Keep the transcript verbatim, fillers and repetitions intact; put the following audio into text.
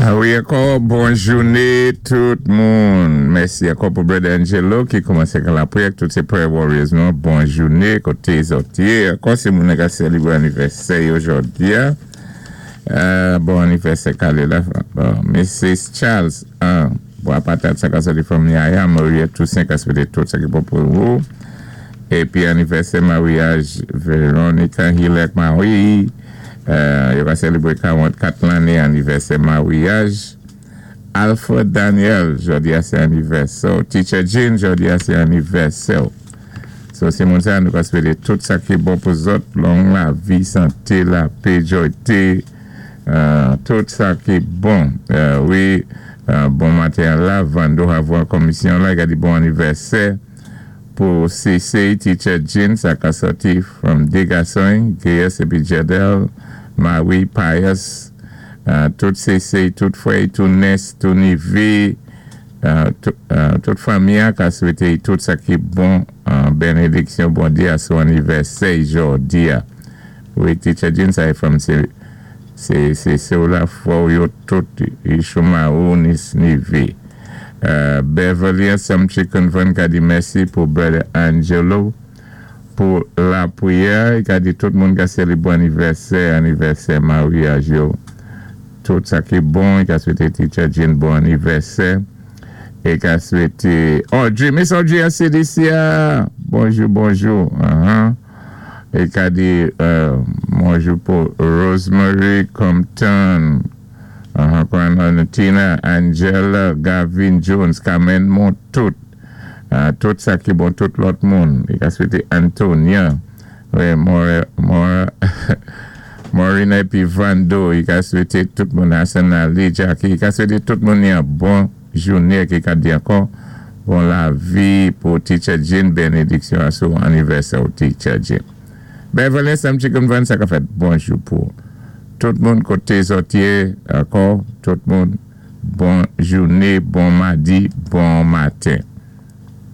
Ah wi, ankò, bon jouné tout moun. Mèsi ankò pou Brother Angelo ki koumansé kan lapriyè, tout sé prayer warriors nou. Bon jouné, koté zòt yé. Ankò sé moun ka sélébwé anivèsè jòdi. Euh, bon anivèsè kalé la. Bon, Missus Charles, ah, bon, patat sa ka sòti from Yaya, Maria Toussaint ka swété tout sa ki bon pou ou. Épi anivèsè maryaj Veronica Hilek Marie. Euh, yo va sélébwé karanntkat lanné anivèsè maryaj. Alfred Daniel, jòdi a sé anivèsè. Teacher Jean, jòdi a sé anivèsè. So, sé moun sa, nou ka swété tout sa ki bon pou zòt, long lavi, santé, lapè, jwayté, euh, tout sa ki bon. Euh, wi, euh, bon maten la, Vando Havwa komisyon la, i ka di bon anivèsè pou C C, Teacher Jean, sa ka sòti from dé gason, Gaius épi Jedel, Marie Pius, euh, tout C C, tout fwè, tout nès, tout nivé, euh, tout, euh, tout fanmi ka swété tout sa ki bon, euh, bénédiksyon Bondyé a sou anivèsè jòdi. Wi, Teacher Jean, sa é from sé sé sé sé la fwa yo tout Ishuma ou nis nivé. Euh, Beverly Sam Chicken Van ka di mèsi pou Brother Angelo pou lapriyè, i ka di tout moun ka sélébwé anivèsè, anivèsè maryaj yo. Tout sa ki bon, i ka swété Teacher Jean bon anivèsè. É ka swété Audrey, Miss Audrey a C D C a. Bonjou, bonjou. Uh-huh. É ka di euh, bonjou pou Rosemary Compton. Uh-huh. Tina, Angela, Gavin Jones, Carmen Montout. Uh, tout sa ki bon, tout lòt moun. I ka swété Antonia. Wi, Mora, Mora, Morina épi Vando. I ka swété tout moun Hassan Ali, Jackie. I ka swété tout moun yon bon jouné ki ka di ankò. Bon lavi pou Teacher Jean, bénédiksyon a sou anivèsè ou Teacher Jean. Beverly Sam Chicken Van, sa ka fèt bonjou pou tout moun koté zòt yé, ankò, tout moun, bon jouné, bon madi, bon maten.